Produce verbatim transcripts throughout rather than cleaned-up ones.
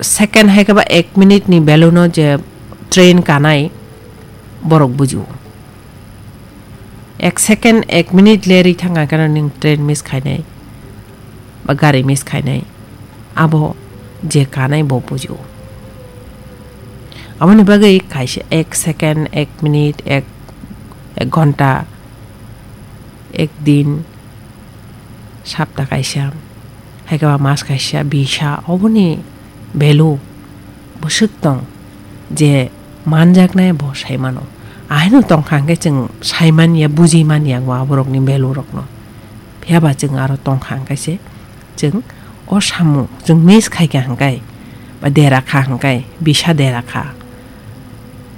second hai khe ba ek minute ni value no je train kanai borok bujio. Ek second, ek minute lerwi thang khe no ning train miss khainai ba gari miss khainai, abo je kanai bo bujio. Aboni bagwi kaisa ek second, ek minute, ek, ek ghonta, ek din, sapta kaisa, hai khe ba mas kaisa, bisa, oboni value bwswk tong je manjaknai bo sai mano. Ahaino tong kha hwnkhe chwng sai man ya, buji man ya bo aborokni value rokno. Phiya ba chwng aro tong kha hwnkhe se chwng o samung chwng miss khai kha hwnkhe ba dera kha hwnkhe, bisa dera kha,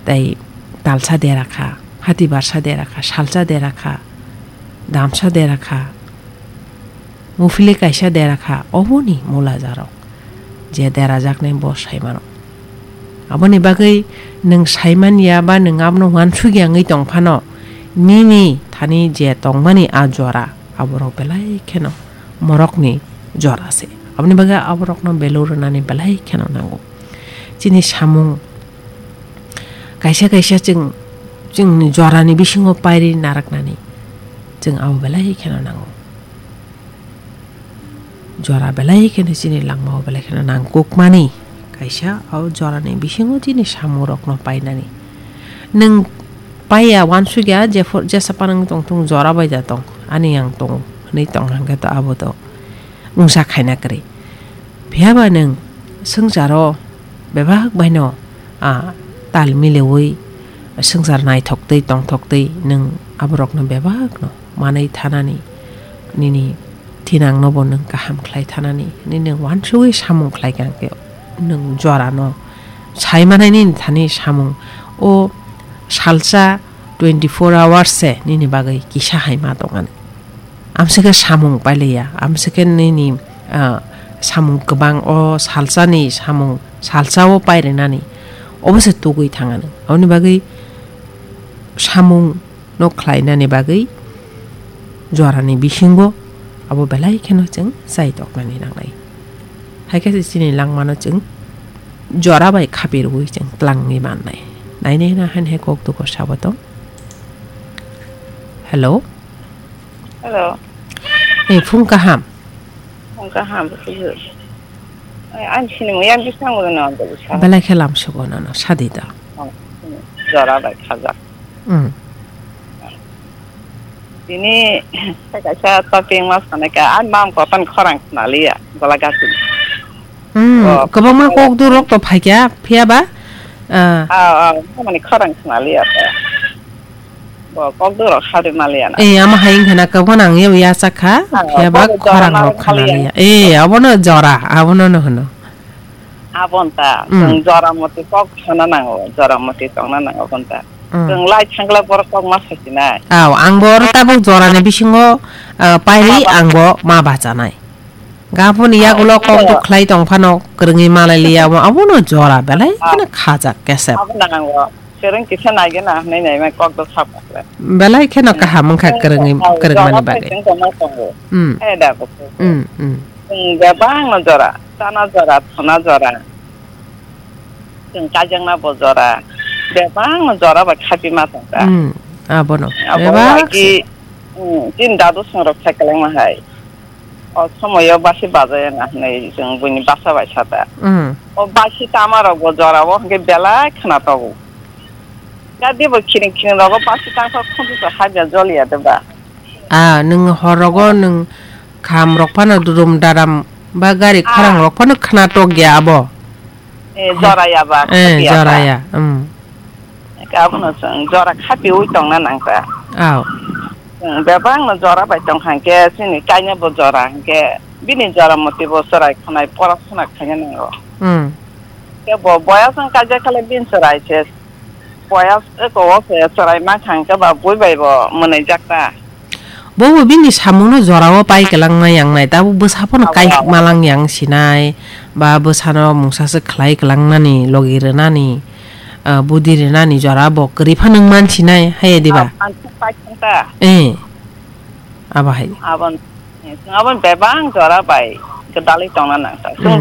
tei talsa dera kha, hati barsa dera kha, salsa dera kha, damsa dera kha, muphili kaisa dera kha, oboni mula jarok je dera jaknai bo sai mano. Aboni bagwi nwng sai man ya ba nwng abono uansuk ya wngwi tong phano, nini thani je tongmani a jora, aborok belai kheno morokni jora se. Aboni bagwi aborokno value rwnani belai kheno nango. Chini samung kaisa kaisa chwng, chwngni jorani bisingo pairi naraknani chwng abo belai kheno nango. Jora belai kheno chini langmao belai kheno nangkukmani kaisa, o jorani bisingo chini samungrokno painani. Nwng paiya uansukya, jepho-, jesa panang tongthung, jora bai da tong, ani yang tongo hwnwi tong hwnkhe to abo to wngsa khaina kwrwi. Phiya ba nwng swngcharo bebak baino, ah, tal mileui swngchar naithok twi tongthok twi nwng aborokno bebakno manwi thanani, nini thinangno bo nwng kaham khlai thanani, nini nwng uansugwi samung khlai kha hwnkhe nwng jorano sai manai nini thani samung o salsa twenty four hours se nini bagwi kisa hai ma tongani. Amswk khe samung pailiya, amswk khe nini, ah, samung kwbang o salsani samung salsa o pairinani obo se tugwi thangani. Aboni bagwi samung no khlainani bagwi jorani bisingo abo belai kheno chwng chai toknani nangnai. Hai khe se chini langmano chwng jora bai khapi rwui chwng tlangwi mannai. Nainai na han he kok duko sabo tong. Hello. Hello. Ei, phung kaham. Phung kaham, phung kaham. Ai, ang sini mo yang bisang mo na ang bisa. Belai khe lam sugo nono, sadi da. Oh, jora bai khajak. Hmm. Tini kaisa topic ma sanai ka, ang mam kotan khorang khna liya, gola gasi. Hmm, oh, kwbangma kok du rok to phaikya, phiya ba? Ah. Ah, ah, mani khorang khna liya ta. Bo kok du rok hari maliya na. Eh, ama hai wngkha na, kwbangma nang yabo yachak kha, ah, phiya ba bo jora khorang rok khna liya. Eh, abono jora, abono no hwno. Abon ta, hmm, chwng jora moti kok sana nango, jora moti tongna nango abon ta. Hmm. Chwng lai thangla borok kok ma sasinai. Aw, ang bo oro tabuk jorani bisingo, ah, pairi ang bo ma bachanai. Gapuni yagulo kok duk khlai tong phano kwrwngwi malai liya, abo, abono jora belai kheno khajak kesep. Abo nango. Kwrwng kisa naigena hwnwi naimai kok duk sap khle. Belai kheno kaham wngkha kwrwngwi, kwrwngmani bagwi. Hmm. Eh, da bo. Hmm, hmm. Chwng bebak no jora, chana jora, thona jora. Chwng kaijakna bo jora, bebak no jora bai khapi ma tong kha. Hmm, abono. Abo bebak wngkha se. Hmm, chini dadu song rok sai kwlangma hai. O somoyo basi bajai na hinwi chwng buini basa bai sata. Mm. O basi tama rok bo jora o hwnkhe belai khna togo. Gadi bo khiring khiring rogo basi tangsa khunju sa habya joliya de ba. Ah, nwng hor rogo nwng kham rok phano dudum daram ba gari khorang rok phano khna tokya abo. Eh, jora ya ba, eh, khati ya ba. Jora ya, um. Abono chwng jora khapiui tongna nangkha. Aw. Chwng bebak no jora bai tong kha hwnkhe, chini kainwi bo jora hwnkhe, bini jora moti bo chwrai khwnai pora suna khaina nango. Hmm. Khe bo boyas wng kaijak khala bini chwrai se, boyas eko o se chwrai mankha hwnkhe ba bui bai bo mwnwijak ta. Bobo bini samungno jorao pai kwlangma yangnai, tabuk bwsa phano kai malang yang sinai, ba bwsano mungsa se khlai kwlangnani, logi rwnani, ah, budi rwnani jora bo kwrwi phano wng man sinai, hai diba? Eh, abo hai. Abon, eh, chwng abon bebak jora bai gwdalwi tongna nangkha. Chwng